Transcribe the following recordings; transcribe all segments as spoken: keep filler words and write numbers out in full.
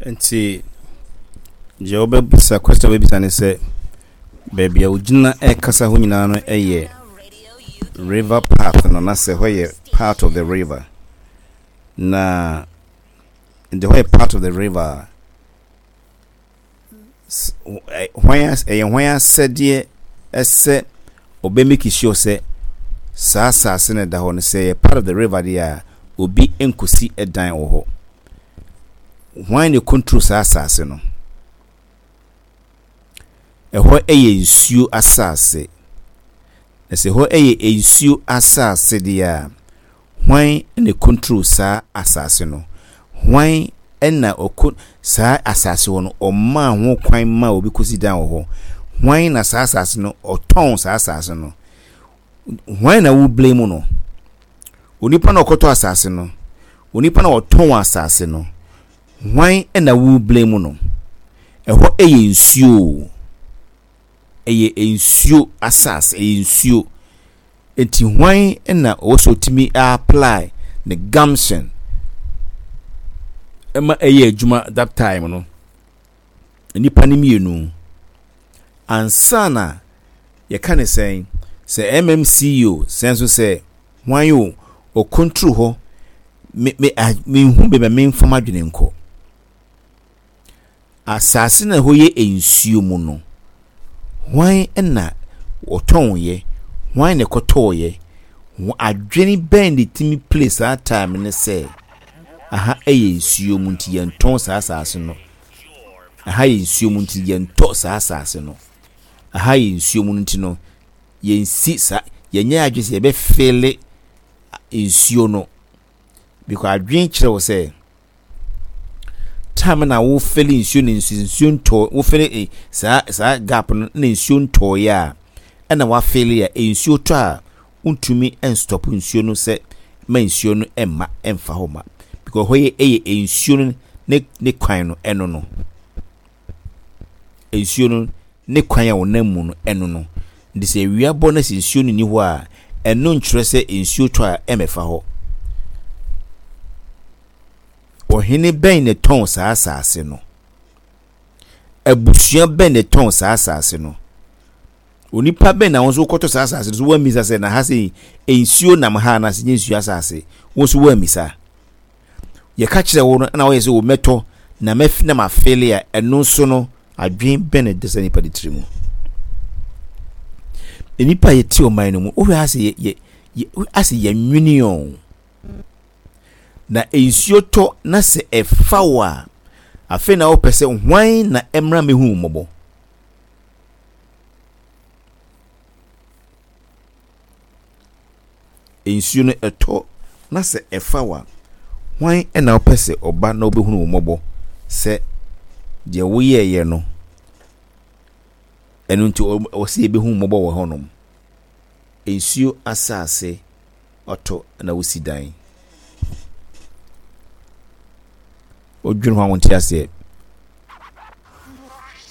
Nti deɛ wobɛbisa, question a wobɛbisa ne sɛ, baabi a wogyina ɛrekasa ho nyinaa no yɛ river path no, na sɛ hɔ yɛ part of the river, na nti hɔ yɛ part of the river a, hwan ɛyɛ hwan asɛdeɛ ɛsɛ ɔbɛ make sure sɛ saa asase no da hɔ no, sɛ yɛ part of the river deɛ a, obi nkosi dan wɔ hɔ? Hwan na control saa asase no? Ɛhɔ yɛ nsuo asase, na sɛ ɛhɔ yɛ nsuo asase deɛ a, hwan na control saa asase no? Hwan na ɔkɔ saa asase hɔ no, ɔmaa ho kwan ma obi kɔsi dan wɔ hɔ? Hwan na saa asase no ɔtɔn saa asase no? Hwan na wo blame no? Onipa na ɔkɔtɔ asase no, onipa na ɔtɔn asase no, hwan na wo blame no? Ɛhɔ yɛ nsuo, ɛyɛ nsuo asase, ɛyɛ nsuo. Nti hwan na ɔwɔ sɛ ɔtumi apply ne gumption ɛma ɛyɛ adwuma that time no? Nipa no mmienu ansa na yɛka ne sɛn sɛ M M C E o, sɛ nso sɛ hwan o, ɔcontrol hɔ. Me me mehu baabi a memfa m'adwene nkɔ. Asase na ɛhɔ yɛ nsuo mu no, hwan na ɔtɔn? Hwan na ɛkɔtɔɔyɛ? Adwene bɛn de tumi play saa time ne sɛ aha yɛ nsuo mu nti yɛntɔn saa asase no, aha yɛ nsuo mu nti yɛntɔ saa asase no, aha yɛ nsuo mu nti no yɛnsi saa, yɛnyɛ adwene sɛ yɛbɛfill nsuo no? Because adwene kyerɛ wo sɛ time na wofill nsuo no, nsuo nsuo ntɔ, wofill eh, saa saa gap no na nsuo ntɔɔyɛ a, ɛna wafill a, nsuo tɔ a, wontumi nstop nsuo no sɛ ma nsuo no mma ɛmfa hɔ ma, because hɔ yɛ ɛyɛ nsuo no ne ne kwan no. Ɛno no, nsuo no ne kwan a wɔnam mu no, ɛno no. Nti sɛ awia bɔ na sɛ nsuo no ni hɔ a, ɛno nkyerɛ sɛ nsuo tɔ a ɛmɛfa hɔ. Ɔhene bɛn na tɔn saa asase no? Abusua bɛn na tɔn saa asase no? Onipa bɛn na wɔn nso kɔtɔ saa asase no so? Wɔn sɛ na ha sɛ nsuo nam ha anaasɛ nye nsuo asase, wɔn nso wɔn amisa. Yɛka kyerɛ wɔn no ɛna wɔyɛ sɛ wɔn mɛtɔ na mɛf na ma fill a, ɛno nso no, adwene bɛn na ɛda sɛ nipa de tiri mu? Nipa a yɛte ɔman no mu, wohwɛ ase yɛ yɛ yɛ ase yɛ nwini o, na nsuo tɔ na sɛ ɛfa wo a, afei na wopɛ sɛ hwan na ɛmmra mehu mmɔbɔ? Nsuo no ɛtɔ na sɛ ɛfa wo a, hwan na wopɛ sɛ ɔba na wobɛhunu wo mmɔbɔ sɛ deɛ woyɛɛyɛ no, ɛno nti ɔsɛ yɛbɛhu mmɔbɔ wɔ hɔnom? Nsuo asase ɔtɔ na wosi dan, wodwene ho a, wonte aseɛ.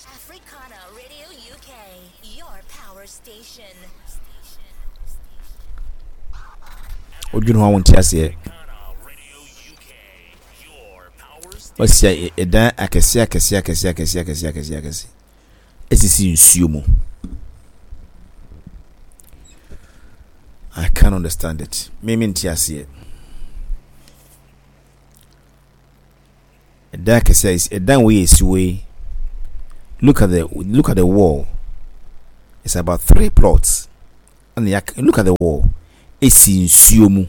Africana Radio U K, your power station. Wodwene ho a, wonte aseɛ. Wasia ɛdan akɛseɛ akɛseɛ akɛseɛ akɛseɛ akɛseɛ akɛseɛ akɛseɛ esisi nsuo mu. I can't understand it. Me me nte aseɛ. Ɛdan akɛseɛ a ɛdan wei yɛ esi wei. Look at the look at the wall. It's about three plots. And ya look at the wall. Esi nsuo mu.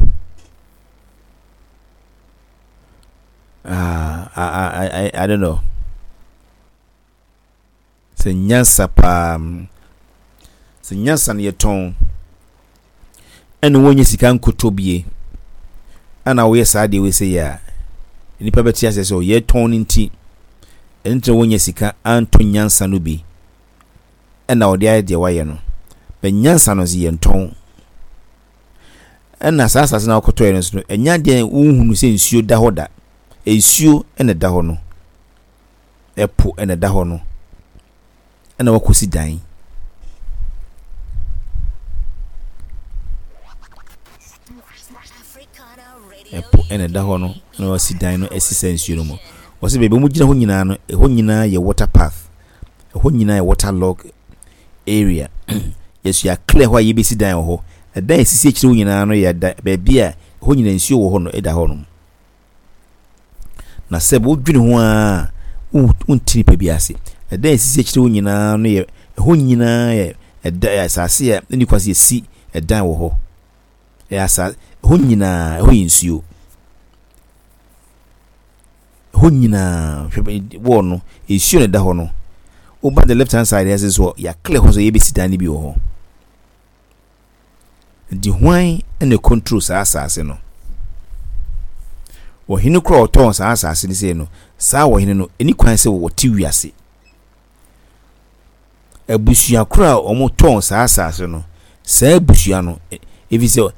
Ah, I I I I don't know. Sɛ nyansa paa, sɛ nyansa no yɛtɔn ɛna wɔnyɛ sika nkotɔ bie, ɛna wɔyɛ saa deɛ wei sɛ yɛ a, nipa bɛte aseɛ sɛ yɛtɔn no nti, ɛno nti na wɔnyɛ sika antɔ nyansa no bi, ɛna wɔde ayɛ deɛ wɔayɛ no bɛ. Nyansa no nso yɛntɔn, ɛna saa asase no akɔtɔɛ no nso no, ɛnya deɛ wohunu sɛ nsuo da hɔ da, nsuo ɛna da hɔ no, ɛpo ɛna da hɔ no, ɛna wakɔsi dan. Africana Radio Ɛpo ɛna ɛda hɔ no, ɛna wasi dan no asi saa nsuo no mu. Wɔsɛ baabi a wɔgyina hɔ nyinaa no, ɛhɔ nyinaa yɛ water path, ɛhɔ nyinaa yɛ water log area. Yɛso yɛ clear hɔ a yɛbɛsi dan wɔ hɔ. Ɛdan a esisi akyire hɔ nyinaa no yɛ da baabi a ɛhɔ nyinaa nsuo wɔ hɔ no ɛda hɔ nom. Na sɛ wodwene ho a, wonti nipa bi ase. Ɛdan a esisi akyire hɔ nyinaa no yɛ ɛhɔ nyinaa yɛ ɛda asase a ɛni kwa sɛ yɛsi ɛdan wɔ hɔ. Ɛyɛ asa ɛhɔ nyinaa ɛhɔ yɛ nsuo. Ɛhɔ nyinaa, hwɛ wall no, nsuo na ɛda hɔ no. Woba the left hand side ɛsɛ so yɛ clear hɔ so yɛbɛsi dan no bi wɔ hɔ. Nti hwan na control saa asase no? Ɔhene koro a ɔtɔn saa asase no sei no, saa ɔhene no ɛni kwan sɛ wɔte wiase. Abusua koro a wɔtɔn saa asase no, saa abusua no, efi sɛ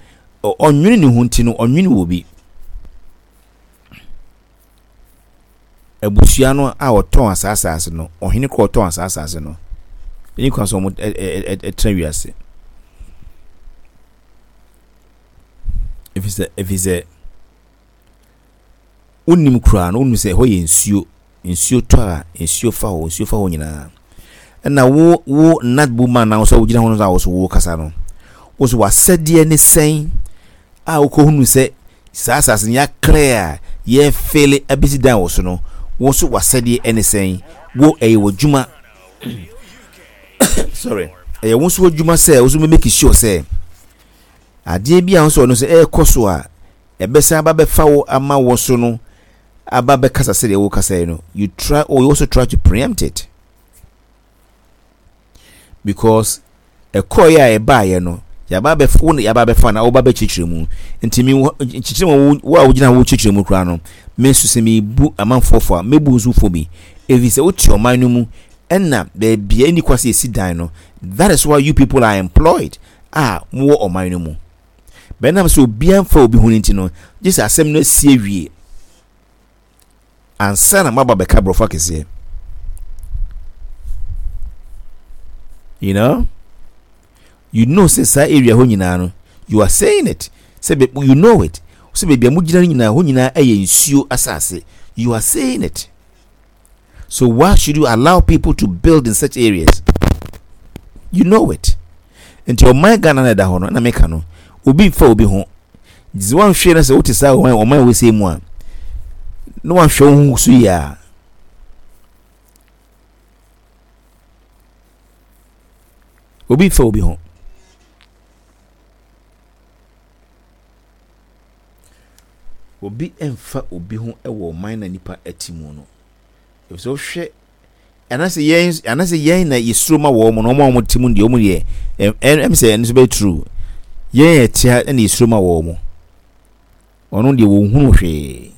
ɔnwene ne ho nti no, ɔnwene wɔ bi. Abusua no a ɔtɔn saa asase no, ɔhene koro a ɔtɔn saa asase no, ɛni kwan sɛ wɔn ɛtena wiase. Efi sɛ efi sɛ wonim koraa no, wonim sɛ ɛhɔ yɛ nsuo. Nsuo tɔ a, nsuo fa hɔ, nsuo fa hɔ nyinaa. Ɛna wo wo natbo man na wo sɛ wogyina hɔ no a wo so wo kasa no, wo so w'asɛdeɛ ne sɛn a wokɔhunu sɛ saa asase no yɛaclear a yɛfele abɛsi dan wɔ so no, wo so w'asɛdeɛ ne sɛn? Wo ɛyɛ w'adwuma. Sorry, ɛyɛ wo nso w'adwuma sɛ wo so make sure sɛ adeɛ bi a wo nso ɔno sɛ ɛrekɔ so a ɛbɛsan aba bɛfa wo ama wo so no aba bɛkasa sɛdeɛ wo kasa yi no, you try or you also try to preempt it, because ɛkɔɔ yɛ a ɛbaayɛ no, yaba abɛfa wo, yaba abɛfa na woba bɛkyerɛkyerɛ mu. Nti mi nkyerɛkyerɛ mu, wo a wogyina hɔ wokyerɛkyerɛ mu koraa no, me nso sɛ mebu amanfoɔ fo a, mebu nso fo bi, ɛfiri sɛ wote ɔman no mu ɛna baabi a ɛni kwa sɛ yɛsi dan no. That is why you people are employed a mowɔ ɔman no mu. Bɛnam sɛ obiara mfa obi ho no nti no, gye sɛ asɛm no asi awie ansa na moaba bɛka borɔfo akɛseɛ. You know, you know sɛ saa area hɔ nyinaa no, you are saying it sɛ you know it sɛ baabi a mogyina no nyinaa, hɔ nyinaa ɛyɛ nsuo asase. You are saying it, so why should you allow people to build in such areas? You know it. Nti ɔman Ghana na ɛda hɔ no na meka no, obi mfa obi ho. Nti sɛ wanhwɛ no sɛ wote saa ɔman ɔman wɔ sɛ mu a na wanhwɛ wo ho so yie a, obi mfa obi ho. Obi mfa obi ho wɔ ɔman na nipa ɛte mu no. Efisɛ wohwɛ anaasɛ yɛn anaasɛ yɛn na yɛsuro ma wɔn no, wɔn a wɔte mu deɛ, wɔn deɛ ɛm sɛ ɛno nso bɛyɛ true. Yɛn yɛ te ha ɛna yɛsuro ma wɔn, ɔno deɛ wɔn hunu hwee,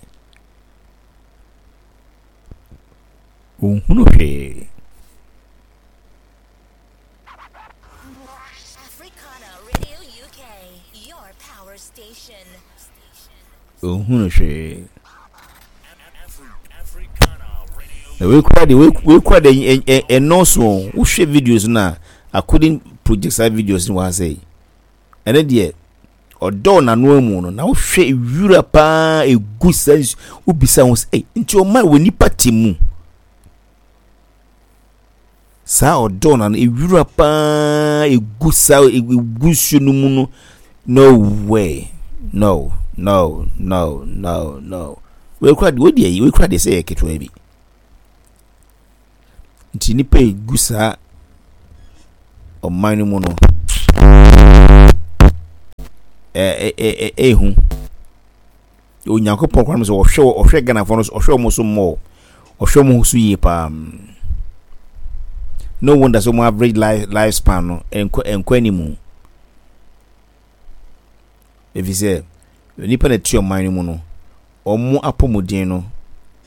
wɔn hunu hwee. Africana Radio U K, your power station. Wɔn hunu hwee. Na wei kura de, wei kura de ɛnɔɔso. Wohwɛ videos no a, I couldn't project saa videos no wɔ ha sɛ ɛne deɛ ɔdɔɔ n'ano amu no. Na wohwɛ wura paa egu saa nsu, wobisa ho sɛ, ɛy, nti ɔma wɔ nipa te mu saa ɔdɔɔ n'ano ewura paa egu saa egu nsuo no mu no? No way, no, no, no, no, no. Wei kura de, wei deɛ, wei kura deɛ sɛ yɛ ketewa bi. Nti nipa egu saa ɔman no mu no, ɛɛ ɛɛ ɛɛhu Onyankopɔn kwan sɛ ɔhwɛ ɔhwɛ Ghanafoɔ no so, ɔhwɛ wɔn so mmɔ, ɔhwɛ wɔn so yie paa. No wonder sɛ wɔn average life life span no ɛnkɔ ɛnkɔ anim, efi sɛ nipa na ɛte ɔman no mu no, wɔn apɔmuden no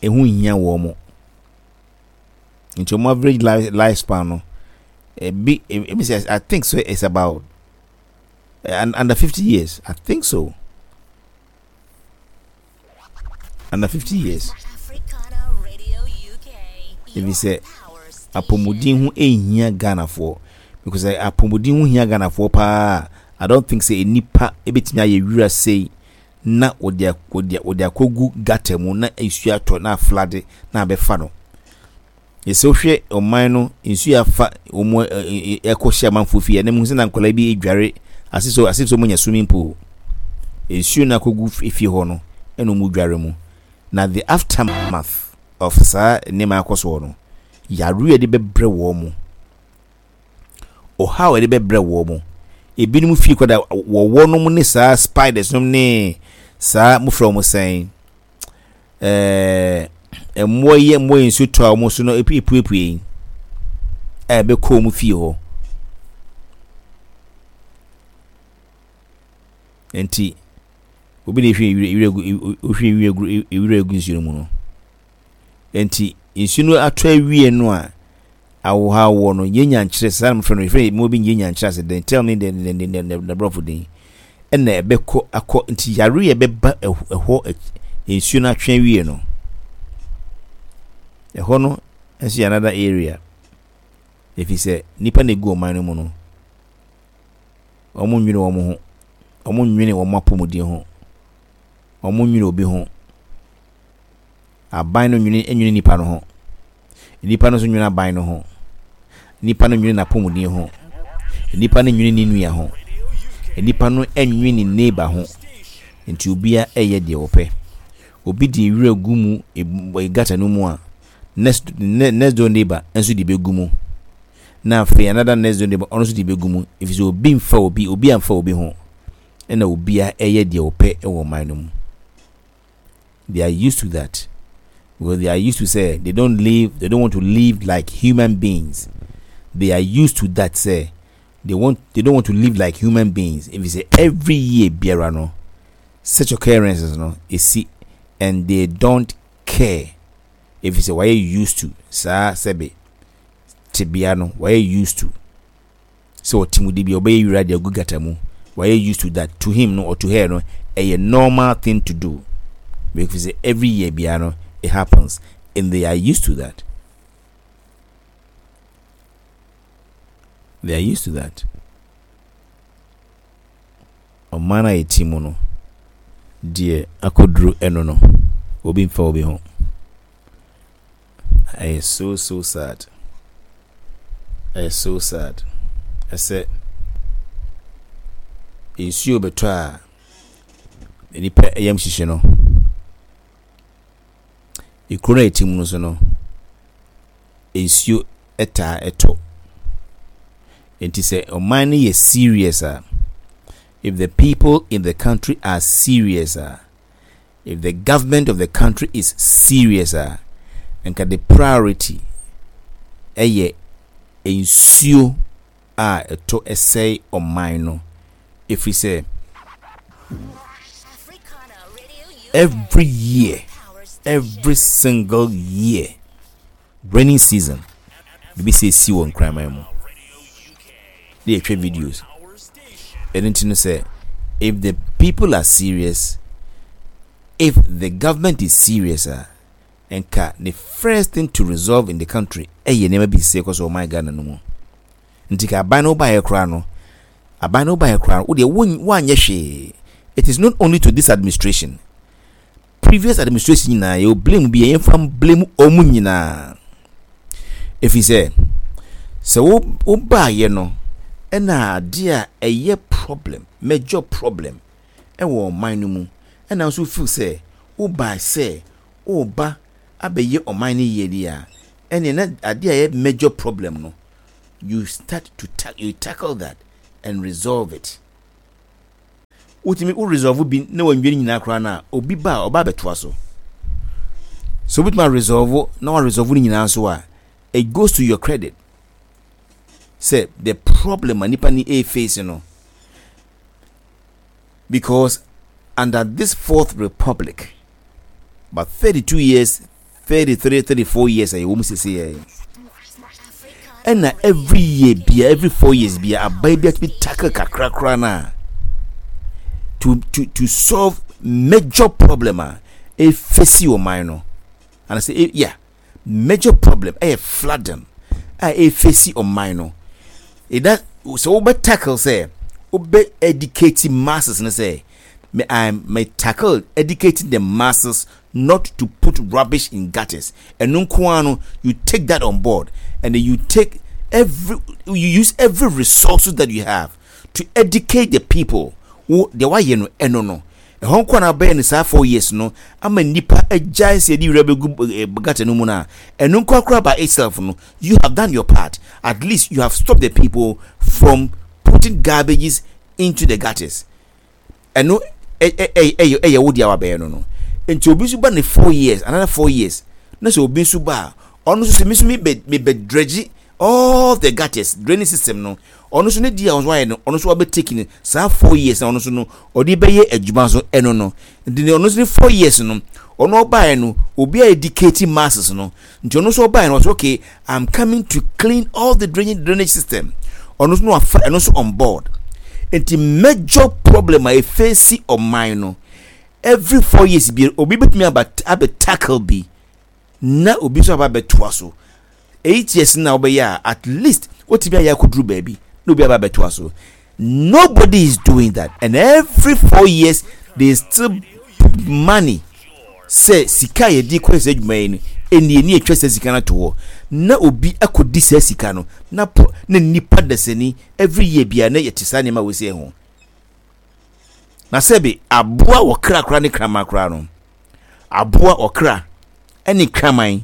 ɛho hia wɔn. Nti wɔn average life life span no ebi ebi sɛ, I think so it's about uh, under fifty years, I think so, under fifty years. Africana Radio U K, Efi sɛ your power station. Apɔmuden ho ehia Ghanafoɔ, because apɔmuden ho hia Ghanafoɔ paa, I don't think sɛ nipa ebetumi ayɛ wura sei. Na wɔde wɔde wɔde akɔgu gutter mu na nsuo atɔ na aflood na abɛfa no. Yɛsɛ wohwɛ ɔman no, nsuo afa wɔn ɛkɔhyɛ amanfoɔ fie. Ɛnam sɛ na nkwadaa bi edware ase so ase so wɔn nya swimming pool. Nsuo no akɔgu fie hɔ no ɛna wɔn dware mu. Na the aftermath of saa nneɛma akɔ soɔ no, yareɛ a yɛde bɛbrɛ wɔn mu, ɔhaw a yɛde bɛbrɛ wɔn mu, ebinom fie kɔda wɔwɔ nom ne saa spiders nom ne saa mofrɛ wɔn sɛn, ɛɛ mmoa yi, mmoa yi nsuo tɔ a wɔn so no epuepue yi a ɛbɛkɔ wɔn fie hɔ. Nti obi na ehwie ewura ewura gu, ohwie ewura gu ewura egu nsuo no mu no. Nti nsuo no atɔ awie no a awohawoɔ no yɛ nyankyerɛ saa na mofrɛ no, yɛfrɛ mmoa bi nyɛ nyankyerɛ ase den, tell me the the the the the borɔfo din ɛna ɛbɛkɔ akɔ. Nti yare a ɛbɛba ɛhɔ, nsuo no atwe awie no, ɛhɔ no nso yɛ another area, ɛfiri sɛ nipa na egu ɔman no mu no, wɔn nwene wɔn ho, wɔn nwene wɔn apɔmuden ho, wɔn nwene obi ho. Aban no nwene nwene nipa no ho, nipa no nso nwene aban no ho, nipa no nwene n'apɔmuden ho, nipa no nwene ne nua ho, nipa no nwene ne neighbor ho. Nti obiara ɛyɛ deɛ ɔpɛ. Obi de nwura gu mu gutter no mu a, next next door neighbor nso de bɛgu mu, na afei another next door neighbor ɔno nso de bɛgu mu, ɛfiri sɛ obi mfa obi obi amfa obi ho, ɛna obiara ɛyɛ deɛ ɔpɛ ɛwɔ ɔman no mu. They are used to that because they are used to say they don't live they don't want to live like human beings. They are used to that, say they want they don't want to live like human beings. If you say every year biara no, such occurrences no esi, and they don't care. If you say why used to saa sɛbe tebea no, why used to sɛ ɔte mu de bi ɔbɛyɛ wura de agu gutter mu, why used to that, to him no or to her no, ɛyɛ normal thing to do, because every year biara no it happens and they are used to that. They are used to that. Ɔman a yɛte mu no deɛ, akɔduru ɛno no, obi mfa obi ho. Ɛyɛ so so sad, ɛyɛ so sad. Ɛsɛ nsuo bɛtɔ a nipa yam hyehye no. Ekuro no a yɛte mu no so no, nsuo taa ɛtɔ. Nti sɛ ɔman no yɛ serious a, if the people in the country are serious a, if the government of the country is serious a, nka the priority ɛyɛ nsuo a ɛtɔ ɛsɛe ɔman no, ɛfiri sɛ Africana Radio U K. Every year, Power station. Every single year, rainy season, biribi sɛ esi wɔ Nkraman mu na yɛtwa videos. Ɛno nti no, sɛ if the people are serious, if the government is serious a, nka the first thing to resolve in the country ɛyɛ nneɛma bi sɛ ɛkɔ so ɔman Ghana no mu. Nti ka aban no wobaeɛ koraa no, aban no wobaeɛ koraa no, wodeɛ woanyɛ hwee. It is not only to this administration, previous administration nyinaa yɛwɔ blame bi a yɛmfa blame ɔmo nyinaa, ɛfiri sɛ sɛ wo wobaeɛ no, ɛna adeɛ a ɛyɛ problem, major problem ɛwɔ ɔman no mu, ɛna nso feel sɛ wobae sɛ woba abɛyɛ ɔman no yie deɛ a, ɛne na adeɛ a ɛyɛ major problem no, you start to ta you tackle that and resolve it. Wotumi wo resolve bi na wɔnwie no nyinaa koraa no a, obi ba a ɔba abɛtoa so. So wobɛtumi a resolve na wa resolve no nyinaa nso a, it goes to your credit sɛ the problem a nipa ni a face no, because under this Fourth Republic, about thirty-two years, thirty-three, thirty-four years a yɛwɔ mu sese yɛ, ɛna every year bia, every four years bia, aban bi atumi tackle kakra koraa na to to to solve major problem a efesi ɔman no, and say yeah, major problem ɛyɛ flooding a efesi ɔman no. Ɛda sɛ wobɛ tackle, sɛ wobɛ educate masses no sɛ Me I me tackle educating the masses not to put rubbish in gutters. Ɛno nko ara no, you take that on board and then you take every you use every resources that you have to educate the people. Wo deɛ wayɛ no, ɛno no ɛhɔ nko na bɛyɛ no saa four years no ama nipa agyae sɛ yɛde wura bɛgu gutter no mu no a, ɛno nko akora by itself no, you have done your part. At least you have stopped the people from putting garbages into the gutters. Ɛno ɛyɛ ɛyɛ wo deɛ wabɛyɛ no no Nti obi nso ba ne four years, another four years na sɛ obi nso ba a, ɔno nso sɛ mi nso mi bɛ mi bɛ dredge all the gutters, draining system no. Ɔno nso ne di a ɔno nso ayɛ no, ɔno nso wabɛ take ne saa four years na ɔno nso no ɔde bɛyɛ adwuma nso. Ɛno no nti ɔno nso ne four years no, ɔno ɔbaeɛ no, obi a educate masses no, nti ɔno nso ɔbaeɛ no, ɔsɛ, "Okay, I'm coming to clean all the drainage drainage system." Ɔno nso no wafa ɛno nso on board. Nti major problem a efeesi ɔman no, every four years bi, obi betumi aba abɛ tackle bi na obi nso aba abɛtoa so. Eight years na ɔbɛyɛ a, at least wotumi ayɛ akɔduru baabi na obi aba abɛtoa so. Nobody is doing that, and every four years they still put money sɛ sika a yɛde kɔ sɛ adwuma yi no, ɛni ani atwa sɛ sika no ato hɔ na obi akɔdi saa sika no na po na nipa dasani. Every year bia na yɛte saa nneɛma wɔ sɛ ho na sɛbi aboa wɔ kra kora ne kraman kora no, aboa ɔkra ɛne kraman,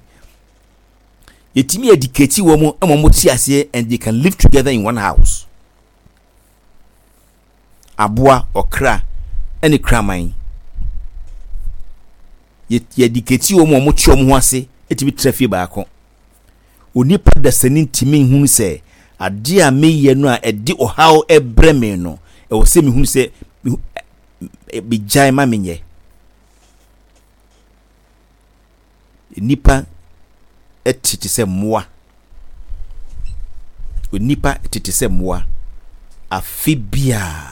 yɛtumi educate wɔn mu ma wɔn te aseɛ and they can live together in one house. Aboa ɔkra ɛne kraman, yɛ educate wɔn mu a wɔn te wɔn ho ase, ɛtumi tena fie baako. Onipa dasani ntumi nhunu sɛ adeɛ a meyɛ no a ɛde ɔhaw ɛbrɛ me no, ɛwɔ sɛ mehunu sɛ megyae ma menyɛ. Nipa tete sɛ mmoa. Onipa tete sɛ mmoa. Afe biara